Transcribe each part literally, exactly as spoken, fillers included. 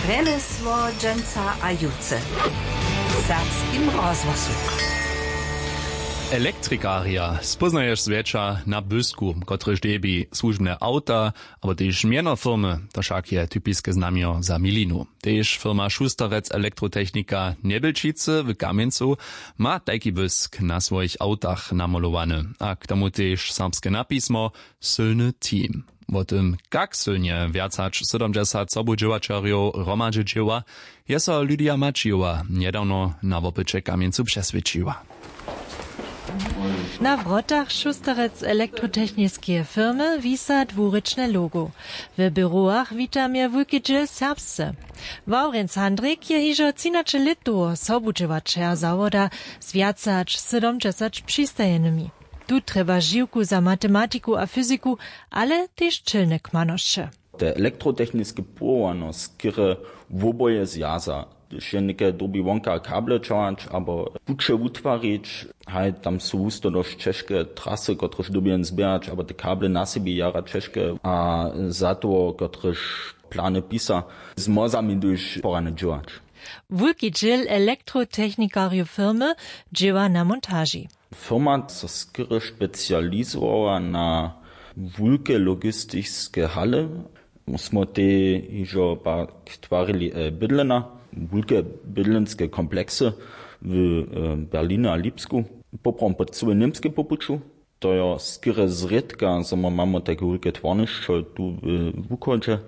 Rjemjesło dźensa a jutře w serbskim rozhłosu. Elektrikarja spóznaješ zwjetša na bysku, kotryž dźěbi słužbne awta abo tež mjeno firmy. To wšak je typiske znamjo za milinu. Tež firma Šusterec Elektrotechnika Njebjelčicy w Kamjencu ma tajki bysk na swojich awtach namolowany, a k tomu tež serbske napismo sylny team. Wo tym, kak sylnje wjac hač sydomdźesat sobudźěłaćerjow hromadźe dźěła, je so Lydia Maćijowa njedawno na wopyće w Kamjencu přeswědčiła. Na wrotach Šusterec elektrotechniskeje firmy wisa dwurěčne logo. W běrowach wita mje wulki dźěl serbsce. Wawrjenc Handrik je hižo třinaće lětoweho sobudźěłaćerja zawoda z wjace hač sydomdźesat přistajenymi. Tu trjeba žiwku za matematiku a fyziku, ale tež čelne kmanosće. Te elektrotechniske powołano, skerje woboje zwjaza, hdyž je něke dyrbi wonka kable ćahać abo puće wutwarić, haj, tam su husto dosć ćežke trasy, kotrež dyrbi jen zběhać, abo te kable na sebi jara ćežke, a za toho, kotrež plany pisa, z mozami hdyž porane dźěłać. Wulki dźěl elektrotechnikarjow firmy dźěła na montaži. Firma so skerje specializowała na wulke logistiske hale. Smy te hižo pak twarili, e, bydlena, wulke bydlenske kompleksy w, e, Berlinje a Lipsku, poprawom po cyłej Němskej po puću. To jo skerje zrědka, zo my mamy tajke wulke twarnišćo tu w wuchodźe.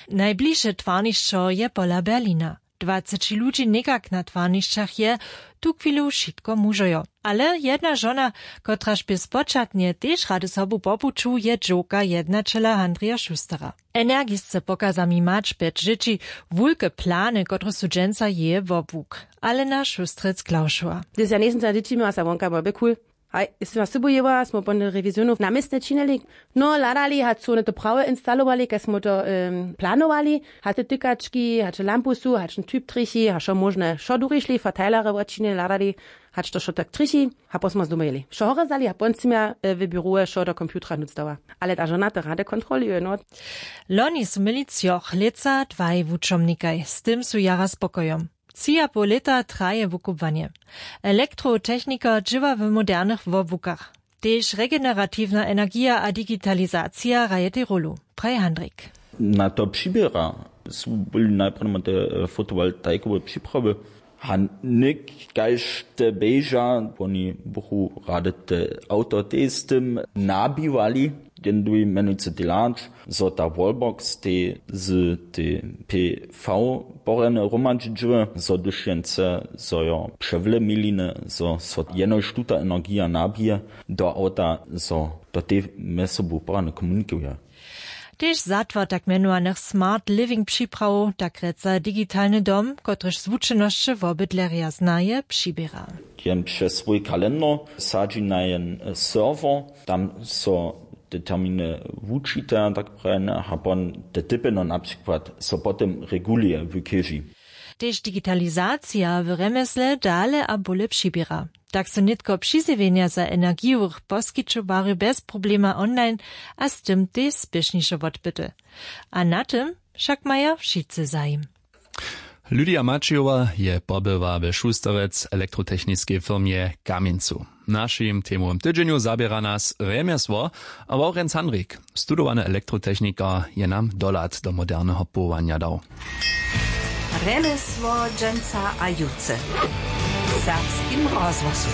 Najbližše twarnišćo je pola Berlina. Dwaceći ludźi někak na twarnišćach je tuchwilu wšitko mužojo. Ale jedna žona, kotraž bě spočatnje tež rady sobu po puću, je dźowka jednaćela Handrija Šustera. Energisce pokaza mi mać pjeć dźěći, wulke plany, kotrež su dźensa jeje wobłuk. Alena Šustrec-Klaušowa. Hdyž ja njejsym za dźěći měła, sa wonka mój bě cool. Haj, jeste ma sobu jěła, smo po rewizionu na městnje činili. No, hladali, hač su wone to prawje instalowali, kaž smo to, em, planowali. Hač te tykački, hač lampu su, hač ten typ trjechi, hač wšo móžne, wšo durišli, verteilerje wočinili, hladali, hač to wšo tak trjechi. A potom smo z doma jěli. Wšo horje zdali a potom sym ja, e, w běrowe wšo do komputera nutř dała. Ale ta žona to rady kontroluje, no. Loni su měli třoch lětsa dwaj wučomnikaj, z tym su jara spokojom. Tři a poł lěta traje wukubłanje. Elektrotechnikar dźěła w modernych wobłukach. Tež regeneratiwna energija a digitalizacija hrajej rolu, praji Handrik. Na to přiběra su byli najprjedy te, e, fotowoltaikowe připrawy. A něk, kaž te běža, woni buchu rady te awto tež z tym nabiwali. Jen duji mjenujcy delać, zo ta wallbox tej z tej P V porjeny hromadźi dźěły, zo hdyž jen chce, zo jo přewle miliny, zo so jenož tuta energija nabije do awta, zo to tej mjez sobu porjany komunikuje. Tež zatwar tak mjenowanych smart living připrawow, tak rěca digitalny dom, kotryž zwučenosće wobydlerja znaje, přiběra. Jen přez swój kalendar sadźi na jen, e, serwer, tam so te terminy wučita, tak prajen, a pon te typy, no, na přikład so potom reguluje w chěži. Tež digitalizacija w rjemjesle dale a bóle přiběra. Tak su nětko přizjewjenja za energijowych poskićowarjow bjez problema online a z tym tež spěšnišo wotbyte. A na tym wšak maja wšitcy zajim. Lydia Maćijowa je pobyła we Šusterec elektrotechniskej firmje w Kamjencu. W našim temowym tydźenju zaběra nas rjemjesło a Wawrjenc Handrik, studowany elektrotechnikar, je nam dohlad do moderneho powołanja dał. Rjemjesło dźensa a jutře w serbskim rozhłosu.